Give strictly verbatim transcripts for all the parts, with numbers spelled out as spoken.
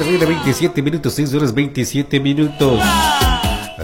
de la mañana, veintisiete minutos, seis horas veintisiete minutos.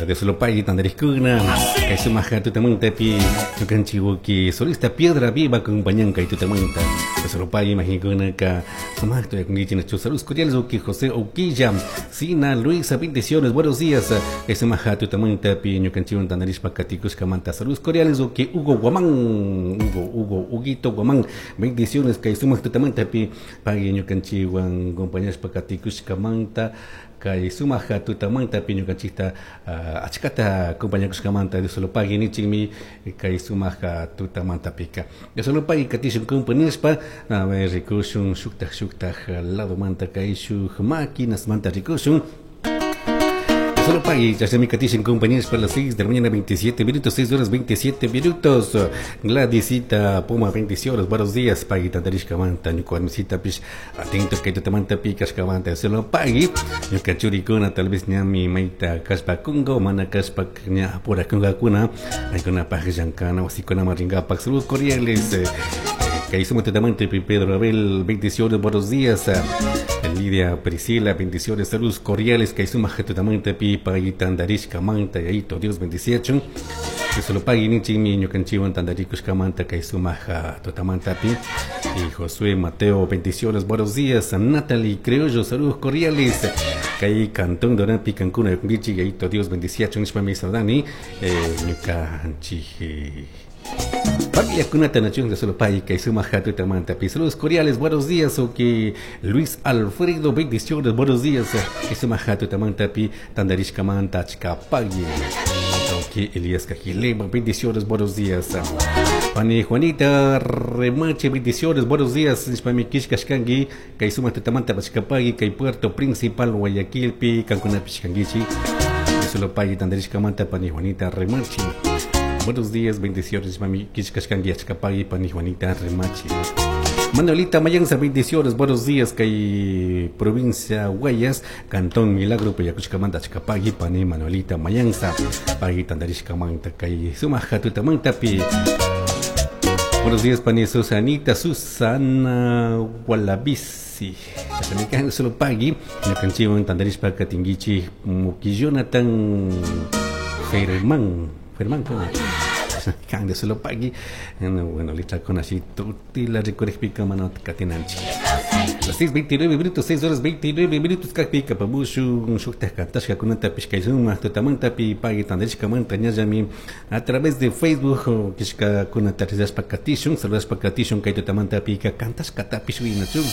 Dios lo pague, tandariskuna, kay sumaja tutamantapi, ñukanchik ki solista Piedra Viva acompañan kay tutamanta. Dios lo pague, imagina ka sumajto yakunkichik nachu saludos cordiales uki José Oquilla, Sina Luisa, bendiciones, buenos días. Kay sumaja tutamantapi, ñukanchik tandarishpa katikushkamanta, saludos cordiales uki Hugo Guamán, Hugo, Hugo, Huguito Guamán, bendiciones, kay sumaj tutamantapi, pague ñukanchikwan acompañashpa katikushkamanta. Kay sumaja tutamanta pi ñukanchikta uh, achkata acompañakushkamanta Dios lo pague nichikmi kay sumaja tutamanta pika Dios lo pague katishun kumpa a ver rikushun shuktaj shuktaj lado manta kay shuk máquinas manta rikushun. Solo pague, ya se me katishin compañeros para las seis de la mañana, veintisiete minutos, seis horas veintisiete minutos. Gladysita Puma, bendiciones, buenos días, pague, tantarishka manta, ñukuarmisita pish, atentos que te manta picas kamanta, solo pague, ñukachurikuna, tal vez ñami maita kaspa kungo, mana kaspa ña pura kunga kuna, aikuna paje yankana, wasikuna maringa pak, saludos cordiales. Eh, que hizo totalmente Pedro Abel, bendiciones, buenos días. Lidia Priscila, bendiciones, saludos cordiales, que hizo totalmente pipa y tandarishka manta, y ahí Dios bendiciacho. Que se lo pague ni chimi ñukanchiwan tandarikushka manta, que hizo totamanta pi. Y Josué Mateo, bendiciones, buenos días. Natalie Criollo, saludos cordiales. Kay Cantón Dorapi Cancuna, y ahí Dios bendiciacho, nishpa mi saudani, ñukanchi. Familia Kunata Nachun de solo pay que suma tamanta pi. Saludos cordiales, buenos días. O que Luis Alfredo, bendiciones, buenos días. Que suma tamanta pi, tandarishka manta chkapagui. Ok, Elías Cajilema, bendiciones, buenos días. Pani Juanita Remache, bendiciones, buenos días. Nishpami kishkashkangi, kay suma tamanta pachkapagui, kay Puerto Principal, Guayaquil, pi, Cancuna pishkangichi. Solo pay, tandarishka manta, pani Juanita Remache. Buenos días, bendiciones, mami, kishkashkangi, achkapagui, pani Juanita Remache. Manuelita Mayanza, bendiciones, buenos días, kay provincia Guayas, Cantón Milagro, Payacushkamanta, achkapagui, pani Manuelita Mayanza, pagui tandarishkamanta, kay sumaja tutamanta pi. Buenos días, pani Susanita, Susana Wallabici. Solo pagui, ñukanchiwan tandarishpa katingichi, Muki Jonathan Germán. Germán, ¿cómo? Can de solo pagui. Bueno, lista con así tutti la recorrespica mano catinanchi. Las seis veintinueve minutos, seis horas veintinueve minutos, capica pabushu, shukta kantashka kunata pishkaizuma, tutamanta pi pagui tandarishka manta ñallami a través de Facebook, kishka kunata rizashpa katishun, saludashpa katishun, kay tutamanta pika kantashka tapishwinachun.